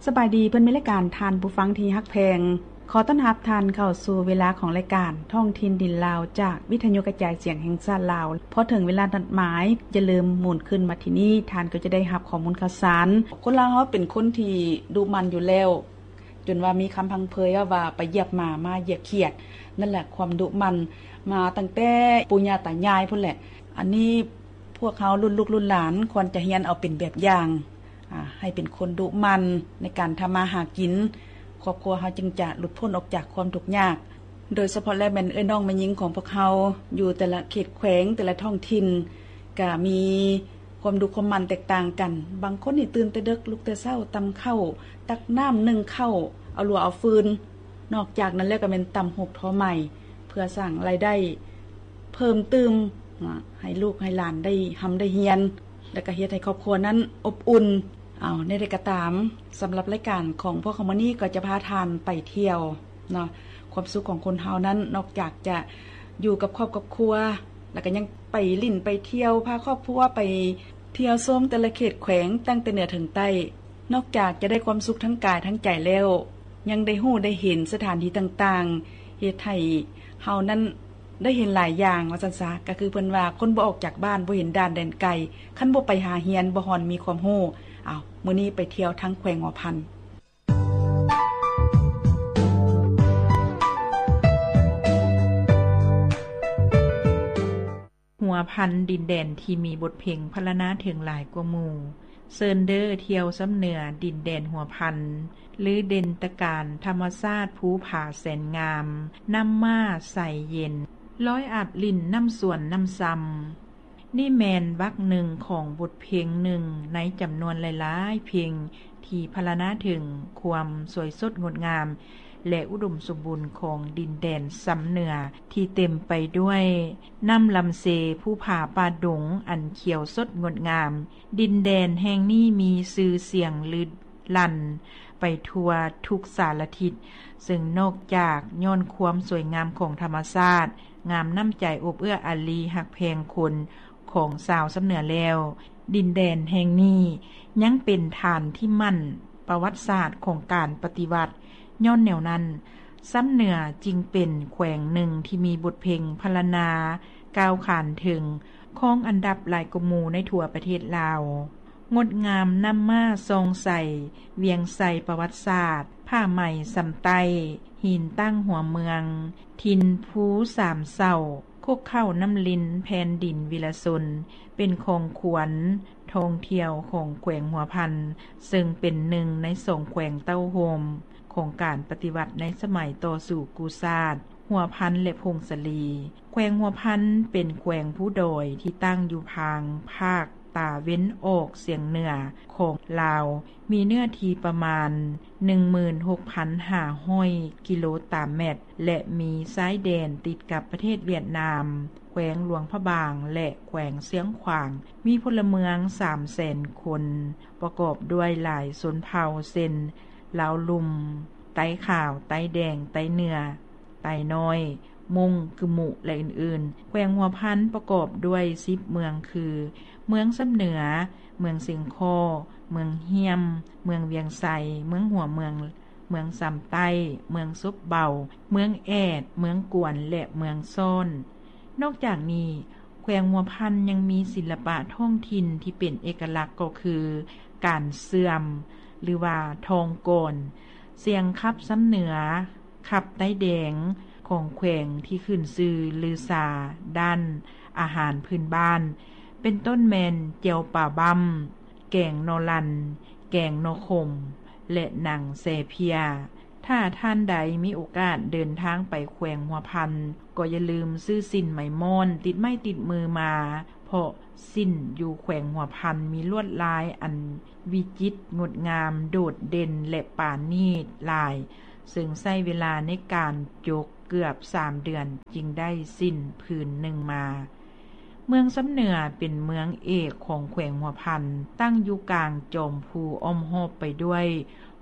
ສະບາຍດີເພື່ອນມິດລາຍການ, ທ່ານຜູ້ຟັງທີ່ຮັກແພງ, ຂໍຕ້ອນຮັບທ່ານເຂົ້າສູ່ເວລາຂອງລາຍການທ້ອງຖິ່ນດິນລາວ ຈາກວິທະຍຸກະຈາຍສຽງແຫ່ງຊາດລາວ. ພໍເຖິງເວລານັດໝາຍ, ຢ່າລືມໝູນຄືນມາທີ່ນີ້, ທ່ານກໍຈະໄດ້ຮັບຂໍ້ມູນຂ່າວສານ. ຄົນລາວເຮົາເປັນຄົນທີ່ດຸໝັ່ນຢູ່ແລ້ວ, ຈົນວ່າມີຄຳພັງເພີຍວ່າ ໄປຢຽບໝາ ມາຢຽບຂຽດ. ນັ້ນແຫຼະ ຄວາມດຸໝັ່ນມາຕັ້ງແຕ່ປູ່ຍ່າຕາຍາຍພຸ້ນແຫຼະ. ອັນນີ້ພວກເຮົາລຸ້ນລູກລຸ້ນຫຼານຄວນຈະຮຽນເອົາເປັນແບບຢ່າງ, ອາ, ໃຫ້ເປັນຄົນດຸໝັ່ນໃນການທຳມາຫາກິນ, ຄອບຄົວເຮົາຈຶ່ງຈະຫຼຸດພົ້ນອອກຈາກຄວາມທຸກຍາກ. ໂດຍສະເພາະແລ້ວແມ່ນເອື້ອຍນ້ອງແມ່ຍິງຂອງພວກເຮົາ ຢູ່ແຕ່ລະເຂດແຂວງ, ແຕ່ລະທ້ອງຖິ່ນ ກະມີຄວາມດຸຄວາມໝັ່ນແຕກຕ່າງກັນ. ບາງຄົນນີ້ຕື່ນແຕ່ເດິກ, ລຸກແຕ່ເຊົ້າ, ຕຳເຂົ້າ, ຕັກນ້ຳ, ໜຶ້ງເຂົ້າ, ເອົາລົວເອົາຟືນ. ນອກຈາກນັ້ນແລ້ວກະແມ່ນຕຳຫູກທໍໄໝ ເພື່ອສ້າງລາຍໄດ້ເພີ່ມຕື່ມ ໃຫ້ລູກໃຫ້ຫຼານໄດ້ຮ່ຳໄດ້ຮຽນ ແລະກະເຮັດໃຫ້ຄອບຄົວນັ້ນອົບອຸ່ນ. ເອົາ ແນວໃດກໍຕາມ, ສຳລັບລາຍການຂອງພວກເຮົາມື້ນີ້ກໍຈະພາທ່ານໄປທ່ຽວເນາະ. ຄວາມສຸກຂອງຄົນເຮົານັ້ນ ນອກຈາກຈະຢູ່ກັບຄອບກັບຄົວ ແລະກະຍັງໄປຫຼິ້ນໄປທ່ຽວ, ພາຄອບຄົວໄປທ່ຽວຊົມແຕ່ລະເຂດແຂວງ ຕັ້ງແຕ່ເໜືອເຖິງໃຕ້. ນອກຈາກຈະໄດ້ຄວາມສຸກທັງກາຍທັງໃຈແລ້ວ, ຍັງໄດ້ຮູ້ໄດ້ເຫັນສະຖານທີ່ຕ່າງໆ, ເຮັດໃຫ້ເຮົານັ້ນໄດ້ເຫັນຫຼາຍຢ່າງວ່າຊັ້ນຊະ. ກໍຄືເພິ່ນວ່າ ຄົນບໍ່ອອກຈາກບ້ານ ບໍ່ເຫັນດ່ານແດນໄກ, ຄັນບໍ່ໄປຫາຮຽນ ບໍ່ຮອນມີຄວາມຮູ້. ເອົາ ມື້ນີ້ໄປທ່ຽວທາງແຂວງຫົວພັນ. ຫົວພັນ ດິນແດນທີ່ມີບົດເພງພັນລະນາເຖິງຫຼາຍກວ່າໝູ່. ເຊີນເດີທ່ຽວຊ່ຳເໜືອດິນແດນຫົວພັນ ຫຼື ເດັ່ນຕະການທຳມະຊາດພູຜາແສນງາມ, ນ້ຳມ້າໃສເຢັນ, ລອຍອາບຫຼິ້ນນ້ຳສວນນ້ຳຊຳ. ນີ້ແມ່ນບັກໜຶ່ງຂອງບົດເພງໜຶ່ງໃນຈຳນວນຫຼາຍໆເພງ ທີ່ພັນລະນາເຖິງຄວາມສວຍສົດງົດງາມ ແລະ ອຸດົມສົມບູນຂອງດິນແດນຊ່ຳເໜືອ ທີ່ເຕັມໄປດ້ວຍນ້ຳລຳເຊ, ພູຜາປ່າດົງອັນຂຽວສົດງົດງາມ. ດິນແດນແຫ່ງນີ້ມີຊື່ສຽງລື ລັນໄປທົ່ວທຸກສາລະທິດ, ເຊິ່ງນອກຈາກຍ້ອນຄວາມສວຍງາມຂອງທຳມະຊາດ, ງາມນ້ຳໃຈອົບເອື້ອອາລີຮັກແພງຄົນຂອງຊາວຊ່ຳເໜືອແລ້ວ, ດິນແດນແຫ່ງນີ້ຍັງເປັນຖານທີ່ໝັ້ນປະຫວັດສາດຂອງການປະຕິວັດ. ຍ້ອນແນວນັ້ນ, ຊ່ຳເໜືອຈຶ່ງເປັນແຂວງໜຶ່ງທີ່ມີບົດເພງພັນລະນາກ້າວຂານເຖິງ, ຄອງອັນດັບຫຼາຍກວ່າໝູ່ໃນທົ່ວປະເທດລາວ. ງົດງາມນ້ຳມ້າສ່ອງໃສ, ວຽງໄຊປະຫວັດສາດ, ຜ້າໄໝຊຳໃຕ້, ຫີນຕັ້ງຫົວເມືອງ, ຖິ່ນພູສາມເສົາ, ຄຸກເຄົ້ານ້ຳລິນ, ແຜ່ນດິນວິລະຊົນ ເປັນຂອງຂວັນທ່ອງທ່ຽວຂອງແຂວງຫົວພັນ, ເຊິ່ງເປັນໜຶ່ງໃນສອງແຂວງເຕົ້າໂຮມຂອງການປະຕິວັດໃນສະໄໝຕໍ່ສູ້ກູ້ຊາດ ຫົວພັນ ແລະ ຜົ້ງສາລີ. ແຂວງຫົວພັນເປັນແຂວງພູດອຍທີ່ຕັ້ງຢູ່ທາງພາກຕາເວັນອອກສຽງເໜືອຂອງລາວ, ມີເນື້ອທີ່ປະມານໜຶ່ງໝື່ນຫົກພັນຫ້າຮ້ອຍກິໂລຕາແມັດ ແລະ ມີຊາຍແດນຕິດກັບປະເທດຫວຽດນາມ, ແຂວງຫຼວງພະບາງ ແລະ ແຂວງຊຽງຂວາງ, ມີພົນລະເມືອງສາມແສນຄົນ, ປະກອບດ້ວຍຫຼາຍຊົນເຜົ່າ ເຊັ່ນ ລາວລຸ່ມ, ໄຕ້ຂາວ, ໄຕ້ແດງ, ໄຕ້ເໜືອ, ໄຕ້ນ້ອຍ, ມົ້ງ, ກຶມຸ ແລະ ອື່ນໆ. ແຂວງຫົວພັນປະກອບດ້ວຍສິບເມືອງຄື ເມືອງຊຳເໜືອ, ເມືອງຊຽງຄໍ້, ເມືອງຫ້ຽມ, ເມືອງວຽງໄຊ, ເມືອງຫົວເມືອງ, ເມືອງຊຳໃຕ້, ເມືອງສົບເບົາ, ເມືອງແອດ, ເມືອງກວນ ແລະ ເມືອງຊ້ອນ. ນອກຈາກນີ້, ແຂວງຫົວພັນຍັງມີສິລະປະທ້ອງຖິ່ນທີ່ເປັນເອກະລັກກໍຄື ການເຊື່ອມ ຫຼືວ່າທອງກອນ, ສຽງຂັບຊຳເໜືອ, ຂັບໄຕ້ແດງຂອງແຂວງທີ່ຂຶ້ນຊື່ລືຊາດ້ານອາຫານພື້ນບ້ານ ເປັນຕົ້ນແມ່ນແຈ່ວປາບ້ຳ, ແກງໜໍ່ລັນ, ແກງໜໍ່ຂົມ ແລະ ໜັງແຊເພຍ. ຖ້າທ່ານໃດມີໂອກາດເດີນທາງໄປແຂວງຫົວພັນ, ກໍຢ່າລືມຊື້ສິ້ນໄມ້ມ້ອນຕິດໄມ້ຕິດມືມາ, ເພາະສິ້ນຢູ່ແຂວງຫົວພັນມີລວດລາຍອັນວິຈິດງົດງາມ, ໂດດເດັ່ນ ແລະ ປານີດຫຼາຍ, ເຊິ່ງໃຊ້ເວລາໃນການຈົກເກືອບສາມເດືອນຈຶ່ງໄດ້ສິ້ນຜືນໜຶ່ງມາ. ເມືອງຊຳເໜືອເປັນເມືອງເອກຂອງແຂວງຫົວພັນ, ຕັ້ງຢູ່ກາງຈອມພູ ອ້ອມຮອບໄປດ້ວຍ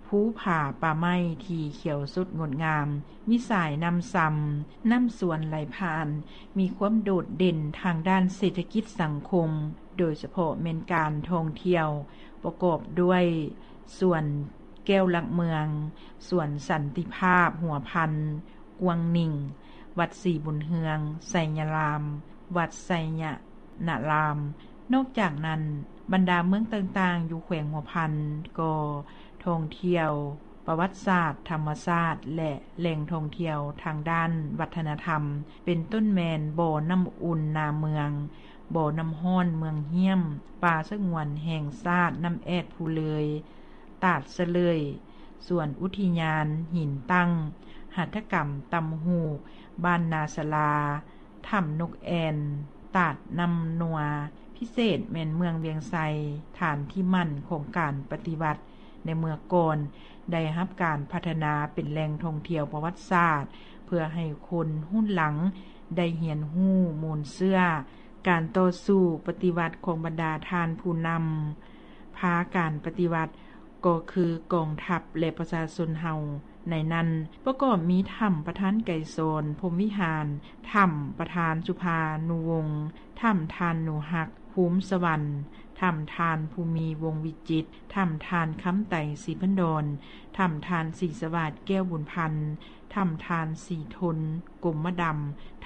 ພູຜາປ່າໄມ້ທີ່ຂຽວສົດງົດງາມ, ມີສາຍນ້ຳຊຳ, ນ້ຳສວນໄຫຼຜ່ານ, ມີຄວາມໂດດເດັ່ນທາງດ້ານເສດຖະກິດສັງຄົມ, ໂດຍສະເພາະແມ່ນການທ່ອງທ່ຽວ, ປະກອບດ້ວຍສວນ ແກ້ວຫຼັກເມືອງ, ສວນສັນຕິພາບຫົວພັນ, ກວາງໜິ່ງ, ວັດສີບຸນເຮືອງ, ໄຊຍະລາມ, ວັດໄຊຍະນະລາມ. ນອກຈາກນັ້ນ, ບັນດາເມືອງຕ່າງໆຢູ່ແຂວງຫົວພັນກໍທ່ອງທ່ຽວປະຫວັດສາດ, ທຳມະຊາດ ແລະ ແຫຼ່ງທ່ອງທ່ຽວທາງດ້ານວັດທະນະທຳ ເປັນຕົ້ນແມ່ນບໍ່ນ້ຳອຸ່ນນາເມືອງ, ບໍ່ນ້ຳຮ້ອນເມືອງຫ້ຽມ, ປ່າສະຫງວນແຫ່ງຊາດນ້ຳແອດພູເລີຍ, ຕາດສະເລີຍ, ສວນອຸທິຍານຫີນຕັ້ງ, ຫັດຖະກຳຕ່ຳຫູກ, ບ້ານນາສະລາ, ຖ້ຳນົກແອ່ນ, ຕາດນ້ຳນົວ. ພິເສດແມ່ນເມືອງວຽງໄຊ, ຖານທີ່ໝັ້ນຂອງການປະຕິວັດໃນເມື່ອກ່ອນ, ໄດ້ຮັບການພັດທະນາເປັນແຫຼ່ງທ່ອງທ່ຽວປະຫວັດສາດ ເພື່ອໃຫ້ຄົນຮຸ່ນຫຼັງໄດ້ຮຽນຮູ້ມູນເຊື້ອການຕໍ່ສູ້ປະຕິວັດຂອງບັນດາທ່ານຜູ້ນຳພາການປະຕິວັດ ກໍຄືກອງທັບ ແລະ ປະຊາຊົນເຮົາ. ໃນນັ້ນປະກອບມີຖ້ຳປະທານໄກສອນ ພົມວິຫານ, ຖ້ຳປະທານສຸພານຸວົງ, ຖ້ຳທ່ານໜູຮັກ ພູມສະຫວັນ, ຖ້ຳທ່ານພູມີ ວົງວິຈິດ, ຖ້ຳທ່ານຄຳໄຕ ສີພັນດອນ, ຖ້ຳທ່ານສີສະຫວາດ ແກ້ວບຸນພັນ, ຖ້ຳທ່ານສີທົນ ກົມມະດຳ,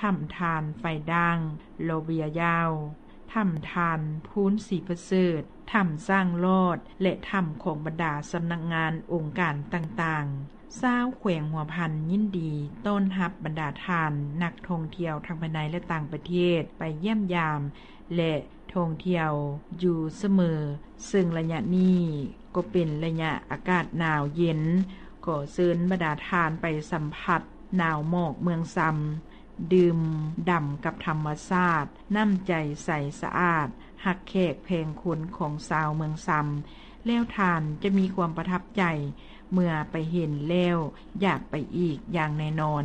ຖ້ຳທ່ານໄຟດ່າງ ລໍເບຍຍາວ, ຖ້ຳທ່ານພູນ ສີປະເສີດ, ຖ້ຳຊ້າງລອດ ແລະ ຖ້ຳຂອງບັນດາສຳນັກງານອົງການຕ່າງໆ. ຊາວແຂວງຫົວພັນຍິນດີຕ້ອນຮັບບັນດາທ່ານນັກທ່ອງທ່ຽວທັງພາຍໃນ ແລະ ຕ່າງປະເທດໄປຢ້ຽມຢາມ ແລະ ທ່ອງທ່ຽວຢູ່ສະເໝີ, ເຊິ່ງໄລຍະນີ້ກໍເປັນໄລຍະອາກາດໜາວເຢັນ. ຂໍເຊີນບັນດາທ່ານໄປສຳຜັດໜາວໝອກເມືອງຊຳ, ດື່ມດ່ຳກັບທຳມະຊາດ, ນ້ຳໃຈໃສສະອາດ, ຮັກແຂກແພງຄົນຂອງຊາວເມືອງຊຳ, ແລ້ວທ່ານຈະມີຄວາມປະທັບໃຈ, ເມື່ອໄປເຫັນແລ້ວຢາກໄປອີກຢ່າງແນ່ນອນ.